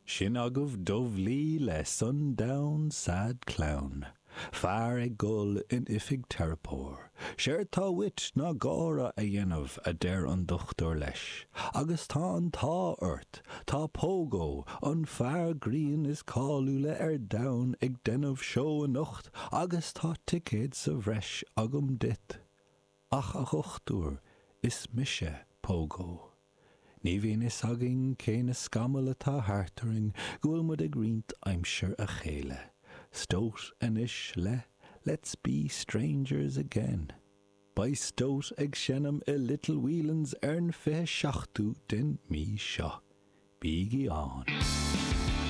Sin agaibh Dubh Lee le Sundown Sad Clown. Fear ag gol in oifig teiripeoir. Séard tá uait ná gáire a dhéanamh, a deir an dochtúir leis. Agus tá an t-ádh ort, tá Pogo, an fear grinn is cáiliúla ar domhan ag déanamh seó anocht agus tá ticéad sa bhreis agam duit. Ach a dhochtúir, is mise Pogo. Ní bhíonn fhios againn cé na scamaill atá thart orainn go bhfuil muid ag roinnt aimsir a chéile. Stoat anois le Let's Be Strangers Again. Beidh Stoat ag seinm i Little Whelan's ar an 27ú den mí seo. Bígí ann!